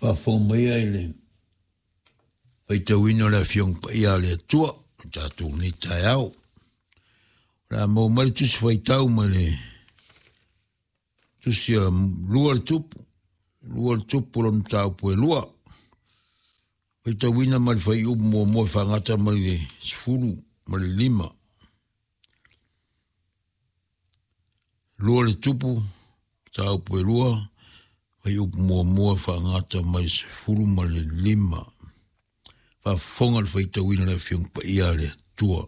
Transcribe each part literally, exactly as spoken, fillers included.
Faafofoga maia i le faitauina o le Afioga Paia a le Atua o tatou nei taeao. O le a maua mai le tusi faitau mai le tusi a lua le tupu, lua le tupu lona mataupu e lua. Faitauina mai le fuaiupu muamua e faagata mai le sefulu ma le lima. Lua le tupu, mataupu e lua, fuaiupu muamua e faagata mai le sefulu ma le lima. Faafofoga le faitauina o le Afioga Paia a le Atua.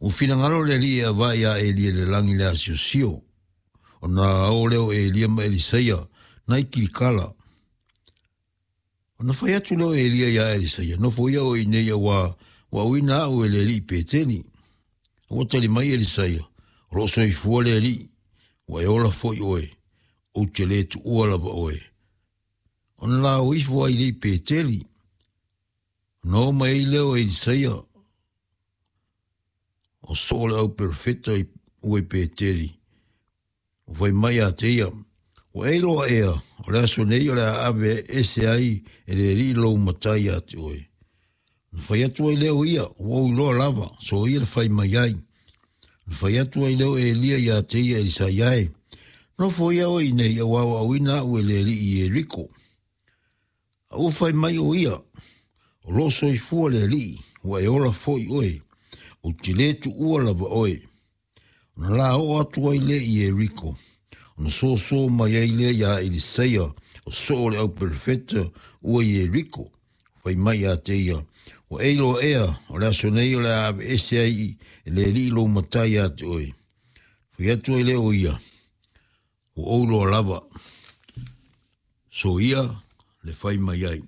Ua finagalo le Alii e avae ia Elia i le lagi i le asiosio, ona o lea o Elia ma Elisaia nai Kilikala. Ona fai atu lea o Elia ia Elisaia, nofo ia oe i inei auā ua auina au e le Alii Peteli. A ua tali mai Elisaia, o loo soifua le Alii, ua e ola foi oe, ou te le tuua lava oe. Ona la o ifo ai le i Peteli, ona o mai ai lea o Elisaia, o soo le au perofeta i ua i Peteli, ua fai mai ia te ia, ua e iloa ea, o le aso nei o le a ave ese ai e le Alii lou matai ia te oe. Na fai atu ai lea o ia, ua ou iloa lava, so ia le fai mai ai. Na fai atu ai lea o Elia ia te ia Elisaia e, nofo ia oe i nei, auā ua auina au e le Alii i Ieriko. A ua fai mai o ia, o loo soifua le Alii, ua e ola foi oe, ou te le tuua lava oe. Ona la oo atu ai lea i Ieriko, ona soso mai ai lea iā Elisaia, o soo le au perofeta ua i Ieriko, fai mai ia te ia, ua e iloa ea, o le aso nei o le a aveese ai e le Alii lou matai ia te oe. Fai atu ai lea o ia, ua ou iloa lava, so ia le fai mai ai.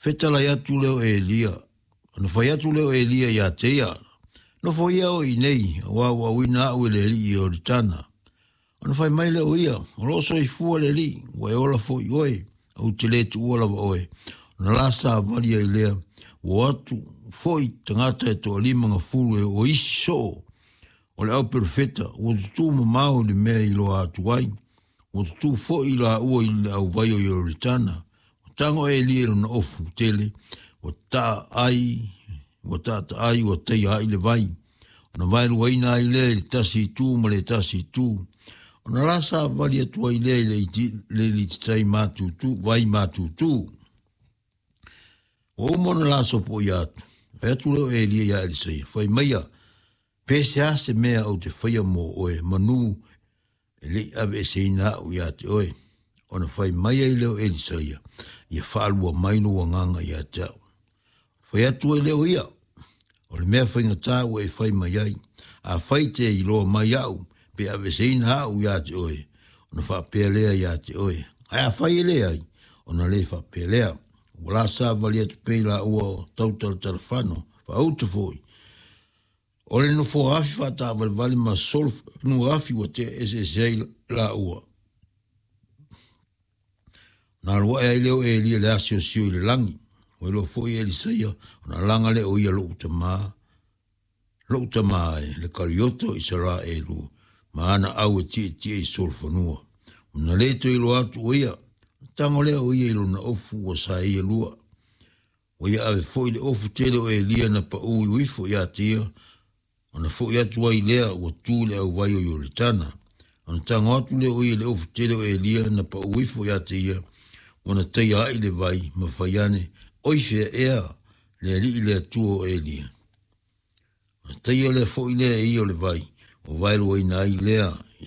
Fetalai atu lea o Elia, ona fai atu lea o Elia ia te ia, nofo ia oe i nei, auā ua auina au e le Alii i Ioritana. Ona fai mai lea o ia, o loo soifua le Alii, ua e ola foi oe, ou te le tuua lava oe. Ona la savali ai lea, ua o atu foi tagata e toalima gafulu e o isi soo o le au perofeta, ua tutū mamao i le mea i iloa atu ai, ua tutū foi laua i le auvai o Ioritana. Ua tago Elia i lona ofu tele, ua taa ai, ua taataai, ua taia ai le vai, ona vaeluaina ai lea i le tasi itu ma le tasi itu. Ona la savali atu ai lea i le iti, le lititai matutu, vai matutu. Ua uma ona la sopoia atu, fai atu lea o Elia ia Elisaia, fai maia, pe se a se mea ou te faia mo oe, manu e le i aveeseina au ia te oe. Ona fai mai ai lea o Elisaia, ia faalua mai lou agaga ia te au. Fai atu ai lea o ia, o le mea faigata ua e fai mai ai, afai te iloa mai au, pe aveeseina au ia te oe, ona faapea lea ia te oe. Ae afai e leai, ona le faapea lea. Ua la savali atu pea i laua o tautalatalafano, faauta foi. O le nofoa afi faataavalevale ma solofanua afi ua tea eseese ai laua. Ona alu ae ai lea o Elia i le asiosio i le lagi. Ua iloa foi e Elisaia, ona alaga lea o ia lou tamā, lou tamā e, le Karioto o Isaraelu, ma ana au e tietie i solofanua. Ona le toe iloa atu o ia, ona tago lea o ia i lona ofu ua saeia lua. Ua ia ave foi le ofu tele o Elia na paū ifo ia te ia, ona foi atu ai lea ua tu i le auvai o Ioritana. Ona tago atu lea o ia i le ofu tele o Elia na paū ifo ia te ia, ua na taia ai le vai, ma fai ane, oi fea ea le Alii le Atua o Elia. Ona taia lea foi lea e ia o le vai, ua vaeluaina ai lea